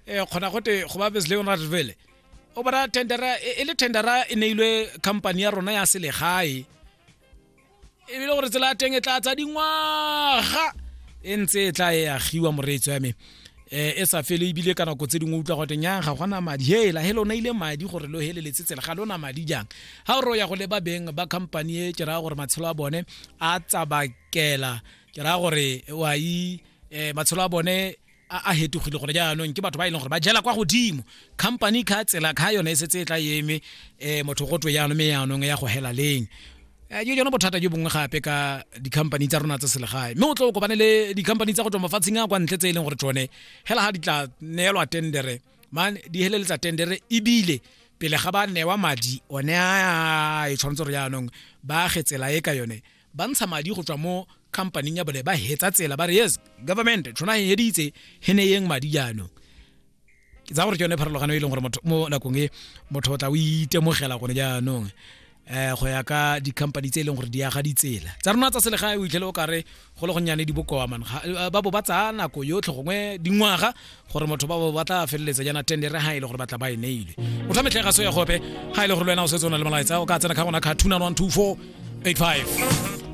um kgona gote go ba besleonradvele o bona tendera e le tendera e neilwe company ya rona ya selegae ebile gore tsela ya teng e tla tsa dingwaga e ntse e tla e agiwa moreetso ya me um e sa fele ebile ka nako tse dingwe utlwa gote nyang ga gona madi hela he lona ile madi gore lo heleletse tsela ga lona madi jang ga o re o ya go leba beng ba company e ke raya gore matshelo a bone a tsabakela ke raya gore wa i um matshelo a bone a hetogile gore jaanong ke batho ba e leng gore ba jela kwa godimo company ka tsela ka yone e setse e tla eme um motho go twe jaanong mme jaanong ya go hela leng eh, ke jone bothata jo bongwe gape ka di-company tsa rona tsa selegae mme o tlo o kopane le di-company tsa go tswa mafatsheng a kwa ntle tse e leng gore tsone hela ga di tla neelwa tendere man di heleletsa tendere ebile pele ga ba newa madi one a e tshwanetse gore jaanong ba age tsela e ka yone ba ntsha madi go tswa mo companyng ya bone ba hetsa tsela ba re yes government tshwana e heditse he ne yeng madi jaanong ke tsa gore ke yone pharologano e leng gore motho mo nakong e motho o tla o itemogela gone jaanong eh go ya ka di-company tse e leng gore di aga ditsela tsa rona tsa selegae o itlhele o kare go le gonnyane di bokoa man eh, ba bo ba tsaya nako yotlhe gongwe dingwaga gore motho ba bo ba tla feleletsa jaana tendere ga e le gore ba tla ba e neile motho wa metlhega so ya gope ga e le gore le wena o setse o na le molaetsa o ka tsena ka gona ka 291 24 85.